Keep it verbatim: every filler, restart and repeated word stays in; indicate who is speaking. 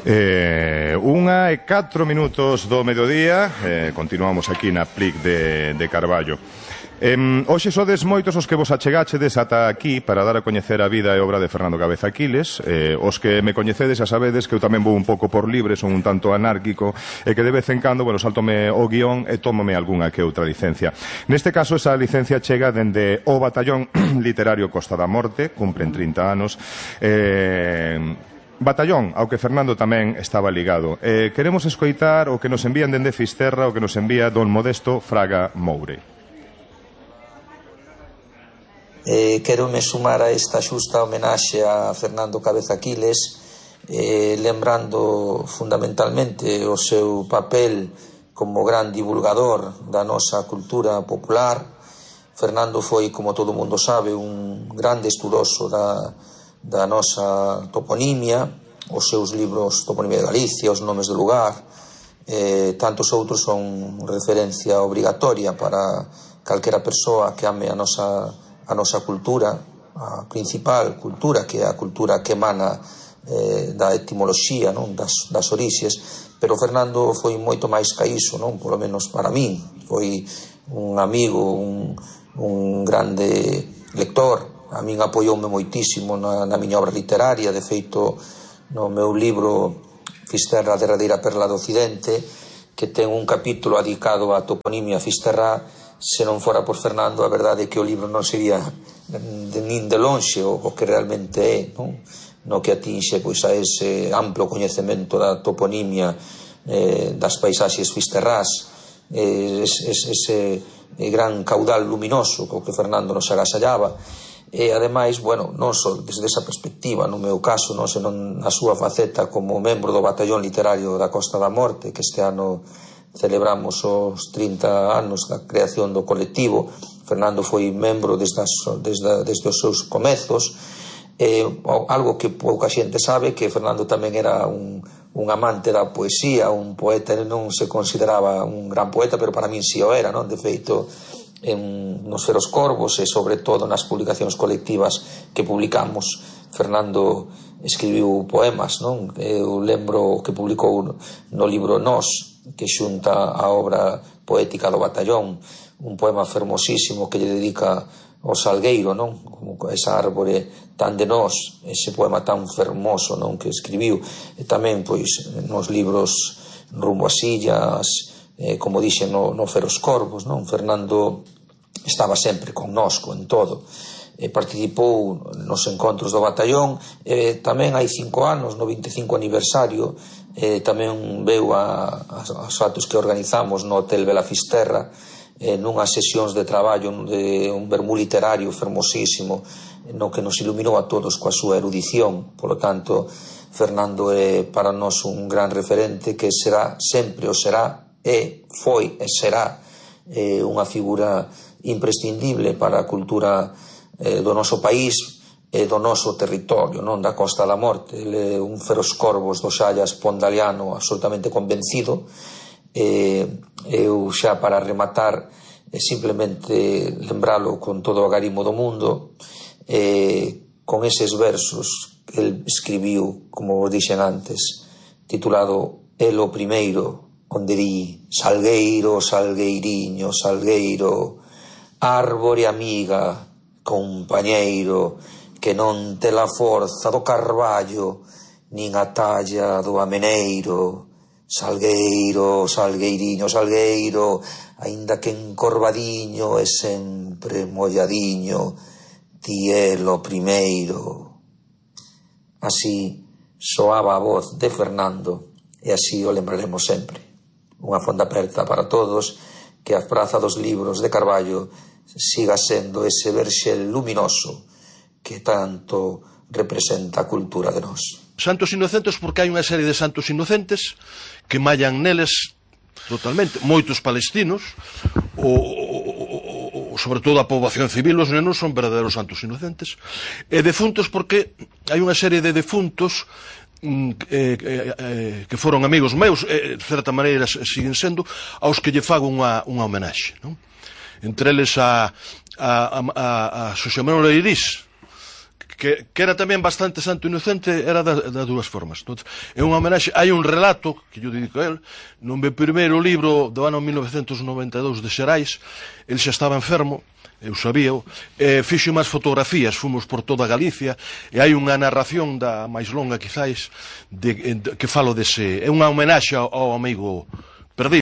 Speaker 1: Eh, unha e catro minutos do mediodía, eh, continuamos aquí na Plic de, de Carballo. Eh, hoxe sodes moitos os que vos achegachedes ata aquí para dar a coñecer a vida e obra de Fernando Cabeza Aquiles. eh, Os que me coñecedes xa sabedes que eu tamén vou un pouco por libre, son un tanto anárquico, e que de vez en cando, bueno, saltome o guión e tómome algunha que outra licencia. Neste caso, esa licencia chega dende o Batallón Literario Costa da Morte, cumpren trinta anos. eh... Batallón, ao que Fernando tamén estaba ligado. Eh, queremos escoitar o que nos envían dende Fisterra, o que nos envía don Modesto Fraga Moure.
Speaker 2: Eh, quero me sumar a esta xusta homenaxe a Fernando Cabeza Aquiles, eh, lembrando fundamentalmente o seu papel como gran divulgador da nosa cultura popular. Fernando foi, como todo mundo sabe, un grande estudoso da da nosa toponimia, os seus libros Toponimia de Galicia, os nomes do lugar, eh, tantos outros son referencia obrigatoria para calquera persoa que ame a nosa, a nosa cultura, a principal cultura, que é a cultura que emana eh, da etimoloxía, non? Das, das orixes. Pero Fernando foi moito máis ca iso, non? Por lo menos para min, foi un amigo, un, un grande lector. A min apoioume moitísimo na, na miña obra literaria. De feito, no meu libro Fisterra, a derradeira perla do Occidente, que ten un capítulo dedicado á toponimia fisterrá, se non fora por Fernando, a verdade é que o libro non sería de, nin de lonxe o, o que realmente é, non? No que atinxe pois, a ese amplo coñecemento da toponimia, eh, das paisaxes fisterrás, eh, ese, ese gran caudal luminoso co que Fernando nos agasallaba. E, ademais, bueno, non só desde esa perspectiva, no meu caso, non senón na súa faceta como membro do Batallón Literario da Costa da Morte, que este ano celebramos os trinta anos da creación do colectivo. Fernando foi membro desde, as, desde, desde os seus comezos. E, algo que pouca xente sabe, que Fernando tamén era un, un amante da poesía, un poeta. Ele non se consideraba un gran poeta, pero para min si o era, non? De feito, en nos Feros Corvos e sobre todo nas publicacións colectivas que publicamos, Fernando escribiu poemas, non? Eu lembro que publicou no libro Nós, que xunta a obra poética do Batallón, un poema fermosísimo que lle dedica ao salgueiro, non? Como esa árbore tan de nós, ese poema tan fermoso, non? Que escribiu. E tamén, pois, nos libros Rumbo ás Illas, Eh, como dixen no, no Feros Corvos, non? Fernando estaba sempre connosco en todo, eh, participou nos encontros do Batallón, eh, tamén hai cinco anos, no vinte e cinco aniversario, eh, tamén veu a, a, aos atos que organizamos no Hotel Bela Fisterra, eh, nunhas sesións de traballo de un vermú literario fermosísimo, no que nos iluminou a todos coa súa erudición. Por lo tanto, Fernando é para nós un gran referente que será, sempre o será, e foi e será eh, unha figura imprescindible para a cultura eh, do noso país e do noso territorio, non? Da Costa da Morte. Ele é un Feros Corvos do Xallas pondaliano absolutamente convencido. eh, eu xa para rematar eh, simplemente lembralo con todo o agarimo do mundo, eh, con eses versos que el escribiu, como vos dixen antes, titulado El o Primeiro, onde di: salgueiro, salgueiriño, salgueiro, árbore amiga, compañeiro, que non te la forza do carballo, nin a talla do ameneiro. Salgueiro, salgueiriño, salgueiro, aínda que encorvadiño e sempre molladiño, ti é lo primeiro. Así soaba a voz de Fernando, e así o lembraremos sempre. Unha fonda aperta para todos, que a Praza dos Libros de Carballo siga sendo ese verxel luminoso que tanto representa a cultura de nós.
Speaker 3: Santos inocentes, porque hai unha serie de santos inocentes que mallan neles totalmente, moitos palestinos, o, o, o, sobre todo a poboación civil, os nenos son verdadeiros santos inocentes, e defuntos porque hai unha serie de defuntos Eh, eh, eh, que foron amigos meus, eh, de certa maneira siguen sendo, aos que lle fago unha, unha homenaxe, non? Entre eles a, a, a, a Xosé Manuel Eirís, que, que era tamén bastante santo inocente, era das da dúas formas. Entonces, é unha homenaxe, hai un relato que yo dedico a él, no meu primeiro libro do ano mil novecentos noventa e dous de Xerais, el xa estaba enfermo, eu sabíao, e fixo máis fotografías, fomos por toda Galicia, e hai unha narración da máis longa, quizáis, de, de, que falo dese, é unha homenaxe ao, ao amigo perdido.